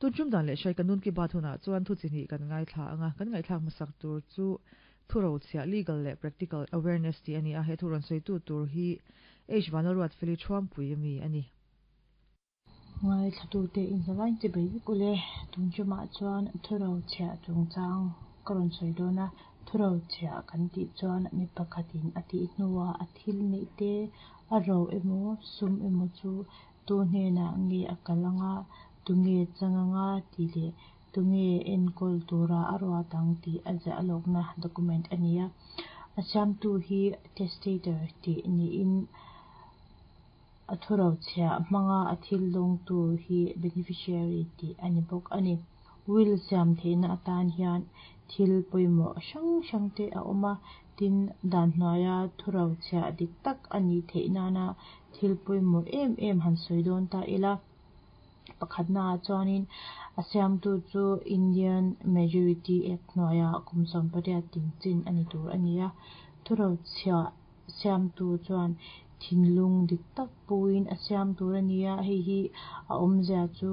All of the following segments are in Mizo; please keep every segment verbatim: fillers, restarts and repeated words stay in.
Tun tum dan leh hrai Kanoon Ki Baat hunah chuan thu chi hnih kan ngaithla anga, kan ngaihthlak hmasak tur chu thurochhiah legal leh practical awareness tih a ni a, he thu rawn sawitu tur hi H Vanlalruatfeli Thuampui ami a ni. Ngaithlatute inzavain chibai vek ule. Tun tumah chuan thurochhiah chungchang ka rawn sawi dawn a. Thurochhiah kan tih chuan mi pakhatin a tih hnuah a thil neih te, a ro emaw sum emaw chu tu hnenah nge a kal anga, tu nge chang anga tih leh tu nge enkawl tura a ruat ang tih a ziah lawkna document a ni a. A siamtu hi testator tih niin a thurochhiah hmanga a thil dawngtu hi beneficiary tih a ni bawk a ni. Will siam theihna atan hian thil pawimawh hrang hrang te a awm a, tin dan hnuaia thurochhiah dik tak a nih theih nana thil pawimawh em em han sawi dawn ta ila. Pakhatnaah chuanin a siamtu chu Indian Majority Act hnuaia kum sawm pariat ting chin a ni tur a ni a. Thurochhiah siamtu chuan thinlung dik tak puin a siam tur a ni a, hei hi a awmzia chu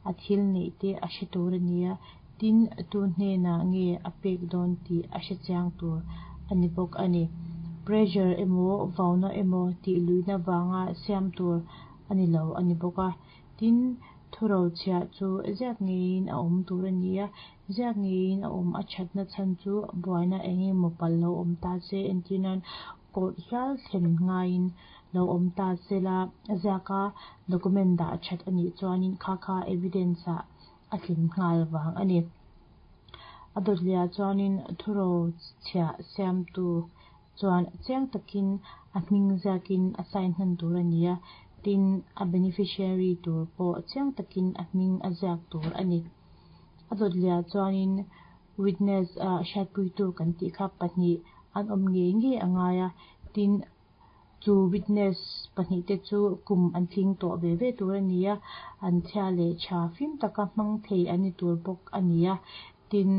a thil neih te a hre tur a ni a, tin tu hnenah nge a pek dawn tih a hre chiang tur a ni bawk a ni. Pressure emaw vauna emaw tih luihna vanga siam tur a ni lo a ni bawk a. Tin thurochhiah chu ziak ngeiin a awm tur a ni a, ziak ngeiin a awm a thatna chhan chu buaina eng emaw pal lo awm ta se, entirnan court hial thlen ngaiin lo awm ta se la, ziaka document dah that a nih chuanin kha kha evidence ah a tlin nghal vang a ni. A dawtliah chuanin thurochhiah siamtu chuan chiang takin a hming ziakin a sign hnan tur a ni a, tin a beneficiary tur pawh chiang takin a hming a ziak tur a ni. A dawtliah chuanin witness a hriatpuitu kan tih kha pahnih an awm ngei ngei a ngai a, tin chu witness pahnih te chu kum an tling tawh ve ve tur a ni a, an chhia leh tha fim taka hmang thei an ni tur bawk a ni a. Tin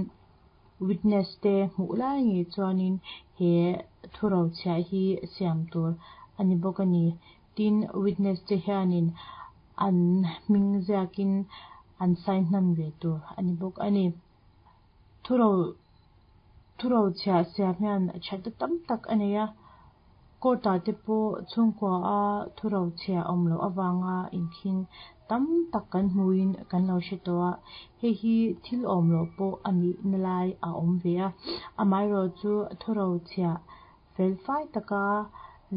witness te hmuh lai ngei chuanin he thurochhiah hi siam tur a ni bawk a ni. Tin witness te hianin an hming ziakin an sign hnan ve tur a ni bawk a ni. Thuro thurochhiah siam hian thatna tam tak a nei a, court ah te pawh chhungkua a thurochhiah awm loh awanga inkhing tam tak kan hmuin kan lo hre tawh a, hei hi thil awm loh pawh a nih na lai a awm ve a. Amaherawh chu thurochhiah felfai taka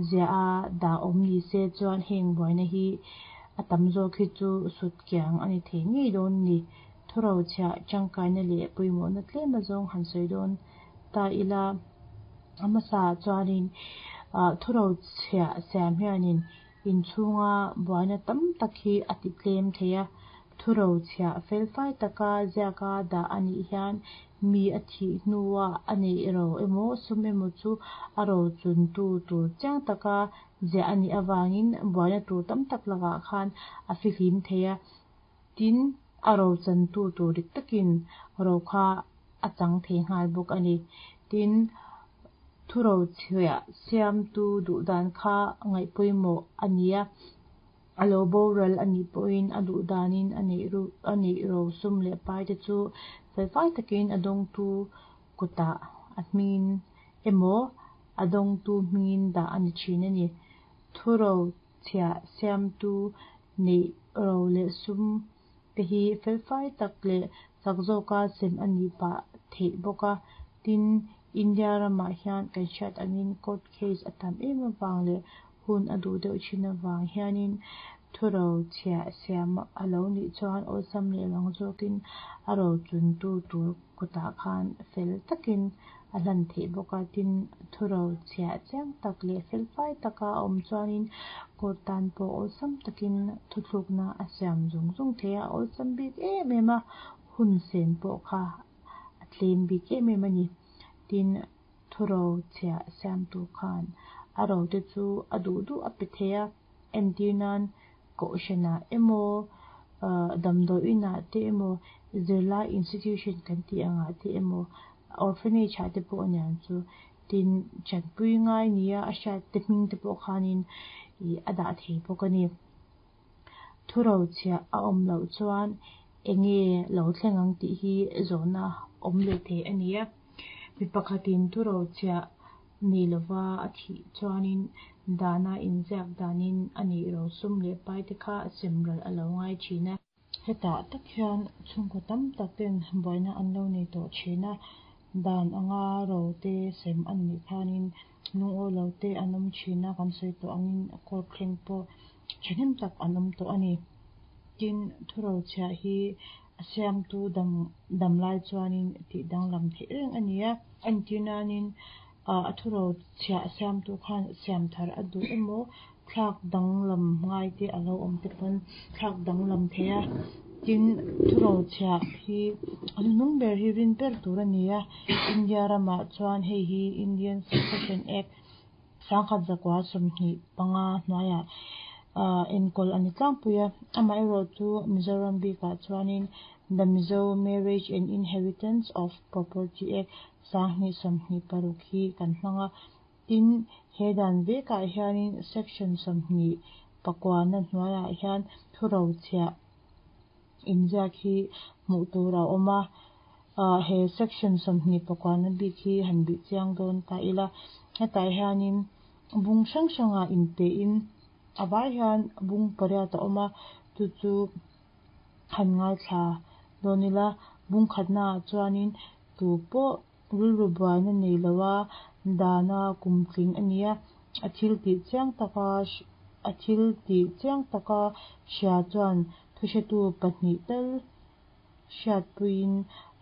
ziah a dah awm ni se chuan heng buaina hi a tam zawk hi chu sut kiang a ni thei ngei dawn ni. Thurochhiah tangkaina leh pawimawhna tlem azawng han sawi dawn ta ila. A hmasa chuanin thurochhiah siam hianin inchhunga buaina tam tak hi a ti tlem thei a. Thurochhiah felfai taka ziaka dah a nih hian mi a thih hnuah a neih ro emaw sum emaw chu a ro chuntu tur chiang taka ziah a nih awangin buaina tur tam tak lakah khan a fihlim thei a. Tin a ro chantu tur dik takin ro kha a chang thei nghal bawk a ni. Tin thurochhiah siamtu duh dan kha ngaih pawimawh a ni a, a lo boral a nih pawhin a duh danin a neih ru a neih ro sum leh pai te chu felfai takin a dawngtu kutah a hmingin emaw a dawngtu hmingin dah a ni thin a ni. Thurochhiah siamtu neih ro leh sum te hi felfai tak leh chak zawka sem a nih pah theih bawk a. Tin India ramah hian kan hriat angin court case a tam em avang leh hun a duh deuh thin avang hianin thurochhiah siam a lo nih chuan awlsam leh rang zawkin a ro chuntu tur kutah khan fel takin a hlan theih bawk a. Tin thurochhiah chiang tak leh felfai taka a awm chuanin court tan pawh awlsam takin thuthlukna a siam zung zung thei a, awlsam bik em em a, hun sen pawh kha a tlem bik em em a ni. Tin thurochhiah siamtu khan a ro te chu a duh duh a pe thei a, entirnan kohhranah emaw damdawi inah te emaw zirlai institution kan tih angah te emaw orphanage ah te pawh aniang chu. Tin chanpui ngai nia a hriat te hming te pawh khanin ih a dah thei bawk a ni. Thurochhiah a awm loh chuan enge lo thleng ang tih hi zawhna awm leh thei a ni a. Mi pakhatin thurochhiah nei lova a thih chuanin dana inziak danin a neih rosum leh pai te kha semral a lo ngai thin a. Hetah tak hian chhungkaw tam tak ten buaina an lo nei tawh thin a. Dan anga ro te sem an nih khanin lungawi lo te an awm thin a, kan sawi tawh angin court thleng pawh thahnem tak an awm tawh a ni. Tin, thurochhiah hi a siamtu dam dam lai chuanin tih danglam theih reng a ni a. Entir nanin a thurochhiah siamtu khan siam thar a duh emaw thlak danglam ngai te a lo awm te pawn thlak danglam thei a. Tin, thurochhiah hi a hnuhnung ber hi rin ber tur a ni a. India ramah chuan hei hi Indian Succession Act sangkhat zakua sawmhnih panga hnuaiah enkawl a ni tlangpui a. Amaherawhchu Mizoram bikah chuanin The Mizo Marriage and Inheritance of Property Act sanghnih sawmhnih paruk hi kan hmang a. Tin, he dan vekah hianin section sawmhnih pakuana hnuaiah hian thurochhiah inziak hi hmuh tur a awm a. He section sawmhnih pakuana bik hi han bih chiang dawn ta ila. Hetah hianin bung hrang hrangah inpein a vai hian bung pariat a awm a. Chu chu han ngaithla dawn ila. Bung khatnaah chuanin tu pawh rilru buaina nei loa dana kumtling a ni a. A thil tih chiang taka a thil tih chiang taka hria chuan thuhretu pahnih tal hriatpuiin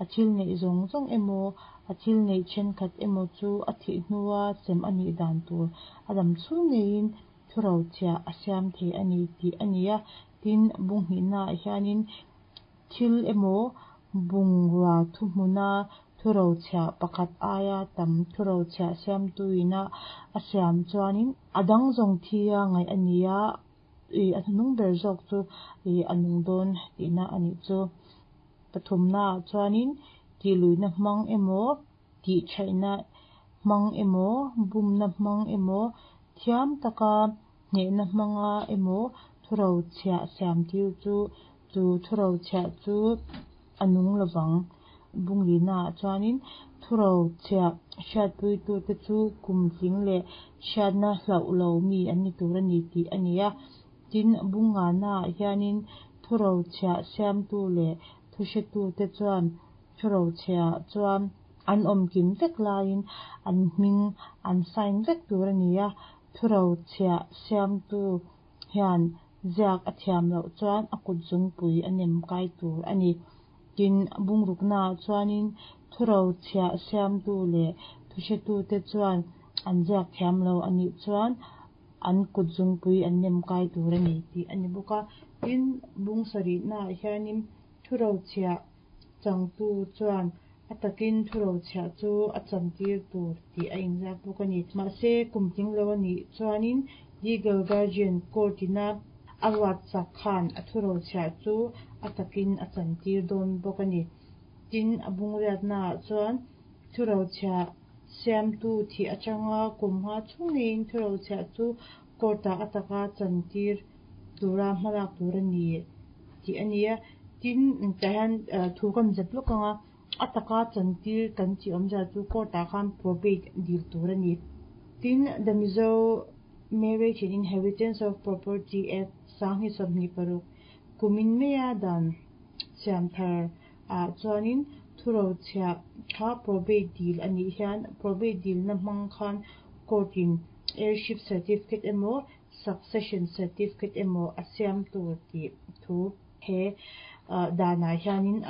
a thil neih zawng zawng emaw a thil neih thenkhat emaw chu a thih hnua sem a nih dan tur a dam chhung ngeiin thurochhiah a siam thei a ni tih a ni a. Tin, bung hnihnaah hianin thil emaw bungrua thuhmuna thurochhiah pakhat aia tam thurochhiah siamtuina a siam chuanin a dang zawng thi a ngaih a ni a. A hnuhnung ber zawk chu a nung dawn tihna a nih chu. Pathumnaah chuanin tihluihna hmang emaw tih thaihna hmang emaw bumna hmang emaw thiam taka hnehna hmanga emaw thurochhiah siam tir chu chu thurochhiah chu a nung lovang. Bung linaah chuanin thurochhiah hriatpuitute chu kumtling leh hriatna hlauh lo mi an ni tur a ni tih a ni a. Tin, bung nganaah hianin thurochhiah siamtu leh thuhretute chuan thurochhiah chuan an awm kim vek laiin an hming an sign vek tur a ni a. Thurochhiah siamtu hian ziak a thiam loh chuan a kut zungpui a nem kai tur a ni. Tin, bung ruknaah chuanin thurochhiah siamtu leh thuhretute chuan an ziak thiam lo a nih chuan an kut zungpui an nem kai tur a ni tih a ni bawk a. Tin, bung sarihnaah hianin thurochhiah changtu chuan a takin thurochhiah chu a chantir tur tih a inziak bawk a ni. Mahse, kumtling lo a nih chuanin legal guardian court ina a ruat chak khan a thurochhiah chu a takin a chantir dawn bawk a ni. Tin, a bung riatnaah chuan thurochhiah siamtu thih atanga kum nga chhung ngeiin thurochhiah chu court-ah a taka chantir tura hmalak tur a ni tih a ni a. Tin, tah hian thu kan zep lawk anga a taka chantir kan tih awmzia chu court-ah khan probate dil tur a ni. Tin, The Mizo Marriage and Inheritance of Property Act sanghnih sawmhnih paruk kumin maia dan siam thar ah chuanin thurochhiah kha probate dil a nih hian probate dilna hmang khan court in heirship certificate emaw succession certificate emaw a siam tur tih thu he danah hianin a